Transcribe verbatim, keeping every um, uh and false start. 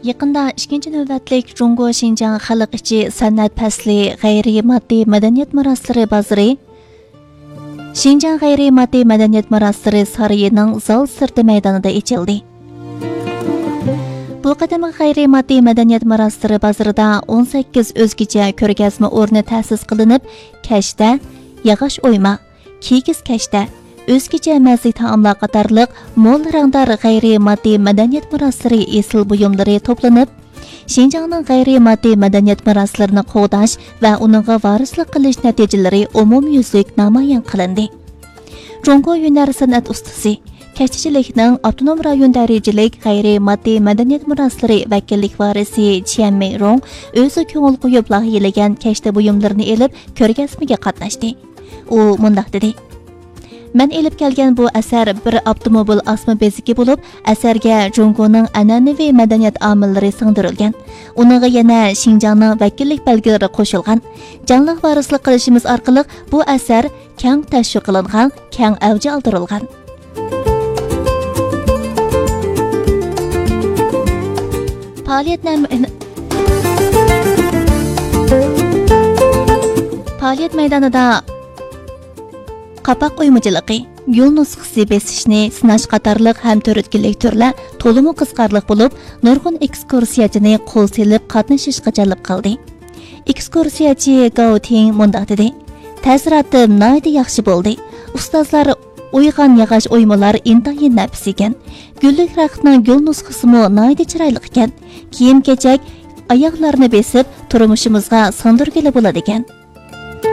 يېقىندا ئىككىنچى نۆۋەتلىك جۇڭگو شىنجاڭ خەلق ئىچى سەنئەت پەسلى غەيرىي ماددىي مەدەنىيەت مىراسلىرى بازىرى، شىنجاڭ غەيرىي ماددىي مەدەنىيەت مىراسلىرى سارىيىنىڭ زال سىرتى مەيدانىدا ئېچىلدى. بۇ قېتىمقى غەيرىي ماددىي مەدەنىيەت مىراسلىرى بازىرىدا ئون سەككىز ئۆزگىچە كۆرگەزمە ئورنى تەسىس قىلىنىپ، كەشتە، ياغاچ ئويما، كىگىز كەشتە، ئۆزگىچە مەززىلىك تائاملار قاتارلىق مول رەڭدار غەيرىي ماددىي مەدەنىيەت مىراسلىرى ئېسىل بۇيۇملىرى توپلىنىپ، شىنجاڭنىڭ غەيرىي ماددىي مەدەنىيەت مىراسلىرىنى قوغداش ۋە ئۇنىڭغا ۋارىسلىق قىلىش نەتىجىلىرى ئومۇميۈزلۈك نامايان قىلىندى. جۇڭگو ھۈنەر سەنئەت ئۇستىسى، كەشتىچىلىكنىڭ ئاپتونوم رايون دەرىجىلىك غەيرىي ماددىي مەدەنىيەت مىراسلىرى ۋەكىللىك ۋارىسى چيەن مېيرۇڭ ئۆزى كۆڭۈل قويۇپ لايىھەلىگەن كەشتە بۇيۇملىرىنى ئېلىپ، كۆرگەزمىگە قاتناشتى. ئۇ مۇنداق دېدى: مەن ئېلىپ كەلگەن بۇ ئەسەر بىر ئاپتوموبىل ئاسما بېزىكى بولۇپ، ئەسەرگە جۇڭگونىڭ ئەنئەنىۋى مەدەنىيەت ئامىللىرى سىڭدۈرۈلگەن. ئۇنىڭغا يەنە شىنجاڭنىڭ ۋەكىللىك بەلگىلىرى قوشۇلغان. جانلىق ۋارىسلىق قىلىشىمىز ئارقىلىق بۇ ئەسەر كەڭ تەشۋىق قىلىنغان، كەڭ ئەۋج ئالدۇرۇلغان. پائالىيەت نەم-، پائالىيەت مەيدانىدا قاپاق ئويمىچىلىقى، گۈل نۇسخىسى بېسىشنى سىناش قاتارلىق ھەم تۈرتكىلىك تۈرلەر تولىمۇ قىزىقارلىق بولۇپ، نۇرغۇن ئېكسكۇرسىيەچىنى قول سېلىپ قاتنىشىشقا جەلپ قىلدى. ئېكسكۇرسىيەچى گاۋ تىڭ مۇنداق دېدى: تەسىراتىم ناھايىتى ياخشى بولدى. ئۇستازلار ئويغان ياغاچ ئويمىلار ئىنتايىن نەپىس ئىكەن. گۈللۈك رەختنىڭ گۈل نۇسخىسىمۇ ناھايىتى چىرايلىق ئىكەن. كىيىم-كېچەك ئاياغلارنى بېسىپ، تۇرمۇشىمىزغا سىڭدۈرگىلى بولىدىكەن.